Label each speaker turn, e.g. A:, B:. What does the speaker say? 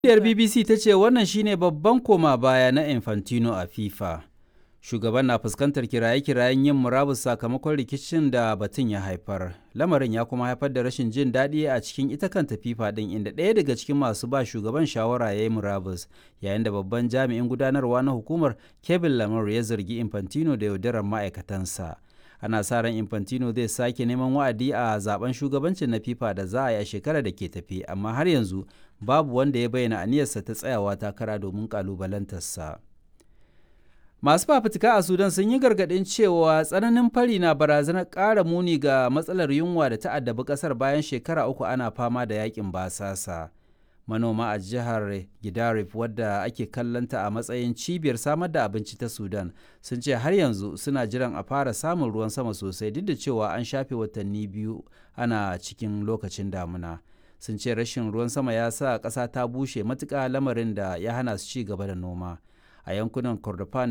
A: Jaridar BBC ta ce wannan shi ne babban koma baya na Infantino a FIFA. Shugaban na fuskantar kiraye-kirayen yin murabus sakamakon rikicin da batun ya haifar. Lamarin ya kuma haifar da rashin jin daɗi a cikin ita kanta FIFA ɗin, inda ɗaya daga cikin masu ba shugaban shawara ya yi murabus, yayin da babban jami'in gudanarwa na hukumar, Kevin Lamar, ya zargi Infantino da yaudarar ma'aikatansa. Ana sa ran Infantino zai sake neman wa'adi a zaben shugabancin na FIFA da za a yi a shekarar da ke tafe, amma har yanzu babu wanda ya bayyana aniyarsa ta tsayawa takara domin kalubalantarsa. Masu fafutuka a Sudan sun yi gargaɗin cewa tsananin fari na barazanar ƙara muni ga matsalar yunwa da ta addabi ƙasar bayan shekara 3 ana fama da yakin basasa. Manoma a jihar Gidarif, wadda ake kallonta a matsayin cibiyar samar da abinci ta Sudan, sun ce har yanzu suna jiran a fara samun ruwan sama sosai, duk da cewa an shafe watanni 2 ana cikin lokacin damuna. Sun ce rashin ruwan sama ya sa ƙasa ta bushe matuƙa, lamarin da ya hana su ci gaba da noma. A yankunan Kordofan